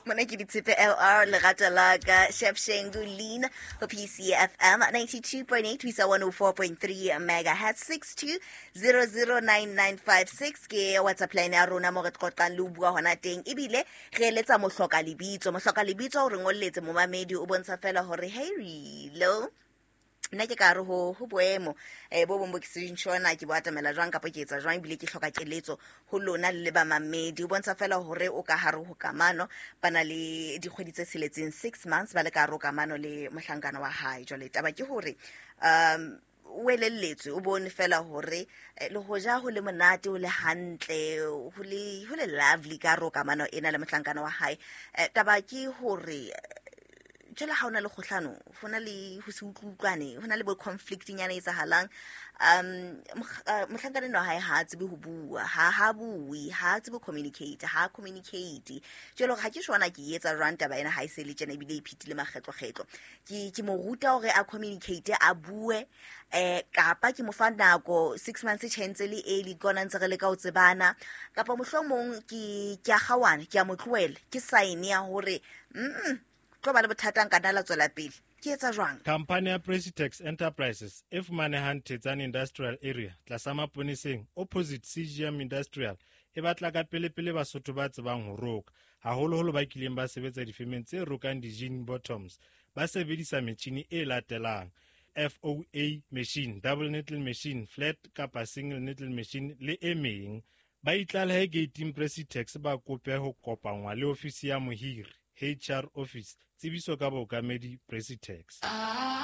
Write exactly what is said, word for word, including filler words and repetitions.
Mona ke Ditshepe L R, Lerato La Ka, Chef Shengu Lean ho P C F M ninety-two point eight ho isa one oh four point three megahertz. six two zero zero nine nine five six ke WhatsApp line ya rona mo re qoqang le ho bua hona teng, ebile re eletsa mohloka lebitso. Mohloka lebitso o re ngolletse, momamedi, o bontsha fela hore hey, lo nna ke ka re ho ho boemo eh bo bong bo ke seng sure ke bo atamela jwang kapa ke etsa jwang, ebile ke hloka keletso ho lona le le bamamedi. O bontsha fela hore o ka hare ho kamano, ba na le dikgwedi tse tsheletseng, six months ba le ka hare ho kamano le mohlankana wa hae. Jwale taba ke hore um o elelletswe, o bone fela hore eh, le hoja ho le monate, ho le hantle, ho le ho le lovely ka hare ho kamano ena le mohlankana wa hae, eh, taba ke hore jwale ha hona le kgohlano, ho na le ho se utlwe-utlwane, ho na le bo conflict nyana e etsahalang. um mohlankana enwa hae ha a tsebe ho bua, ha ha bue, ha a tsebe ho communicate, ha communicate. Jwale hore ha ke sure na ke etsa jwang taba ena ha e se le tjena, ebile e phitile makgetlo-kgetlo. ke ke mo ruta hore a communicate, a bue, eh kapa ke mo fa nako? Six months e tjhentse le early ke ona ntse re leka ho tsebana, kapa mohlomong ke ke a kgawana, ke a mo tlohela, ke sign ya hore mm tlo ba le bothata, nka nna la tswela pele, ke etsa jwang? Khamphani ya Presitex Enterprises e fumanehang Thetsane Industrial Area, tlasa maponeseng, opposite C G M Industrial, e batla ka pelepele Basotho ba tsebang ho roka, haholoholo ba kileng ba sebetsa difemeng tse rokang di-jean bottoms ba sebedisa metjhini e latelang: F O A machine, double needle machine, flat kapa single needle machine le e meng. Ba itlalehe gating Presitex, ba kope ho kopangwa le ofisi ya mohiri, H R office. Tsebiso ka bookamedi, Presitex.